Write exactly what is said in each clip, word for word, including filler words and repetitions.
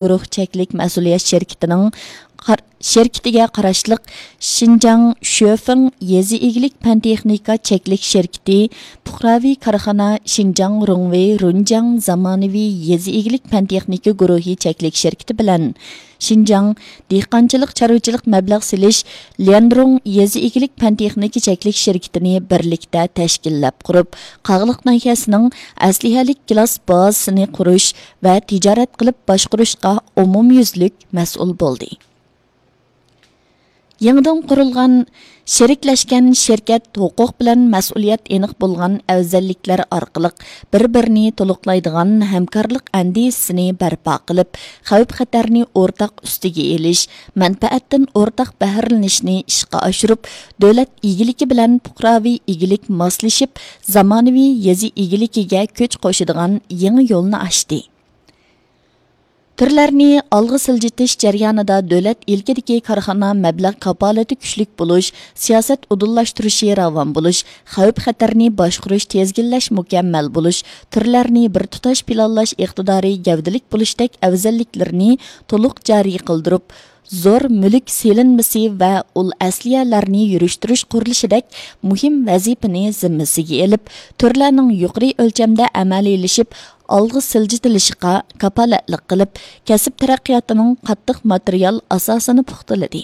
گۇرۇھ چەكلىك مەسئۇلىيەت شىركىتىنىڭ قار-، شىركىتىگە قاراشلىق شىنجاڭ شۆفېڭ يېزا ئىگىلىك پەن تېخنىكا چەكلىك شىركىتى پۇقراۋى كارخانا شىنجاڭ رۇڭۋېي رۇنجياڭ زامانىۋى يېزا ئىگىلىك پەن تېخنىكا گۇرۇھى چەكلىك شىركىتى بىلەن شىنجاڭ دېھقانچىلىق چارۋىچىلىق مەبلەغ سېلىش ليەنرۇڭ يېزا ئىگىلىك پەن تېخنىكا چەكلىك شىركىتىنى بىرلىكتە تەشكىللەپ قۇرۇپ، قاغلىق ناھىيەسىنىڭ ئەسلىھەلىك گىلاس بازىسىنى قۇرۇش ۋە تىجارەت قىلىپ باشقۇرۇشقا ئومۇميۈزلۈك مەسئۇل بولدى. يېڭىدىن قۇرۇلغان شېرىكلەشكەن شىركەت ھوقۇق بىلەن مەسئۇلىيەت ئېنىق بولغان ئەۋزەللىكلەر ئارقىلىق بىر-بىرىنى تولۇقلايدىغان ھەمكارلىق ئەندىزىسىنى بەرپا قىلىپ، خەۋپ-خەتەرنى ئورتاق ئۈستىگە ئېلىش، مەنپەئەتتىن ئورتاق بەھرىلىنىشنى ئىشقا ئاشۇرۇپ، دۆلەت ئىگىلىكى بىلەن پۇقراۋى ئىگىلىك ماسلىشىپ، زامانىۋى يېزا ئىگىلىكىگە كۈچ قوشىدىغان يېڭى يولنى ئاچتى. تۈرلەرنى ئالغا سىلجىتىش جەريانىدا دۆلەت ئىلكىدىكى كارخانا مەبلەغ كاپالىتى كۈچلۈك بولۇش، سىياسەت ئۇدۇللاشتۇرۇشى راۋان بولۇش، خەۋپ-خەتەرنى باشقۇرۇش تىزگىنلەش مۇكەممەل بولۇش، تۈرلەرنى بىر تۇتاش پىلانلاش ئىقتىدارى گەۋدىلىك بولۇشتەك ئەۋزەللىكلىرىنى تولۇق جارى قىلدۇرۇپ، زور مۈلۈك سېلىنمىسى ۋە ئۇل ئەسلىھەلەرنى يۈرۈشتۈرۈش قۇرۇلۇشىدەك مۇھىم ۋەزىپىنى زىممىسىگە ئېلىپ، تۈرلەرنىڭ يۇقىرى ئۆلچەمدە ئەمەلىيلىشىپ، ئالغا سىلجىتىلىشىغا كاپالەتلىك قىلىپ، كەسىپ تەرەققىياتىنىڭ قاتتىق ماتېرىيال ئاساسىنى پۇختىلىدى.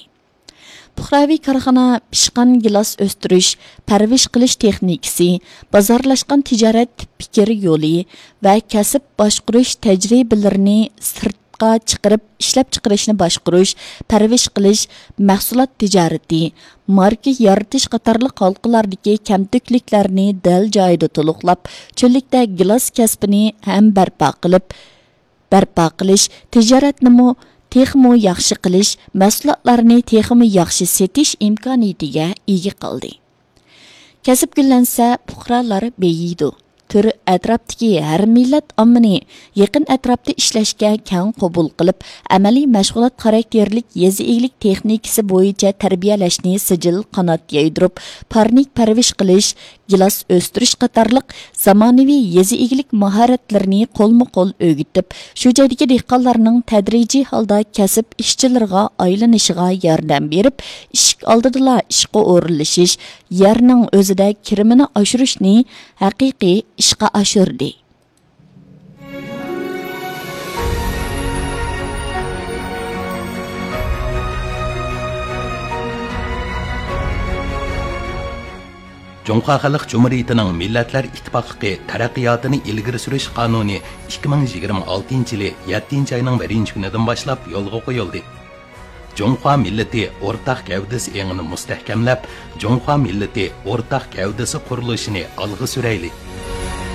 پۇقراۋى كارخانا پىشقان گىلاس ئۆستۈرۈش، پەرۋىش قىلىش تېخنىكىسى، بازارلاشقان تىجارەت پىكىر يولى ۋە كەسىپ باشقۇرۇش تەجرىبىلىرىنى سىرتقا چىقىرىپ، ئىشلەپچىقىرىشنى باشقۇرۇش، پەرۋىش قىلىش، مەھسۇلات تىجارىتى، ماركا يارىتىش قاتارلىق ھالقىلاردىكى كەمتۈكلۈكلەرنى دەل جايىدا تولۇقلاپ، چۆللۈكتە گىلاس كەسپىنى ھەم بەرپا قىلىپ، بەرپا قىلىش، تىجارەتنىمۇ تېخىمۇ ياخشى قىلىش، مەھسۇلاتلارنى تېخىمۇ ياخشى سېتىش ئىمكانىيىتىگە ئىگە قىلدى. كەسىپ گۈللەنسە، پۇقرالار بېيىيدۇ. تۈر ئەتراپتىكى ھەر مىللەت ئاممىنى يېقىن ئەتراپتا ئىشلەشكە كەڭ قوبۇل قىلىپ، ئەمەلىي مەشغۇلات خاراكتېرلىك يېزا ئىگىلىك تېخنىكىسى بويىچە تەربىيەلەشنى سىجىل قانات يايدۇرۇپ، پارنىك پەرۋىش قىلىش، گىلاس ئۆستۈرۈش قاتارلىق زامانىۋى يېزا ئىگىلىك ماھارەتلىرىنى قولمۇ قول ئۆگىتىپ، شۇ جايدىكى دېھقانلارنىڭ تەدرىجىي ھالدا كەسىپ ئىشچىلىرىغا ئايلىنىشىغا ياردەم بېرىپ، ئىشىك ئالدىدىلا ئىشقا ئورۇنلىشىش، يەرنىڭ ئۆزىدە كىرىمىنى ئاشۇرۇشنى ھەقىقىي ئىشقا ئاشۇردى. جۇڭخۇا خەلق جۇمھۇرىيىتىنىڭ مىللەتلەر ئىتتىپاقلىقى تەرەققىياتىنى ئىلگىرى سۈرۈش قانۇنى ئىككى مىڭ يىگىرمە ئالتىنچى يىلى يەتتىنچى ئاينىڭ بىرىنچى كۈنىدىن باشلاپ يولغا قويۇلدى. جۇڭخۇا مىللىتى ئورتاق گەۋدىسى ئېڭىنى مۇستەھكەملەپ، جۇڭخۇا مىللىتى ئورتاق گەۋدىسى قۇرۇلۇشىنى ئالغا سۈرەيلى.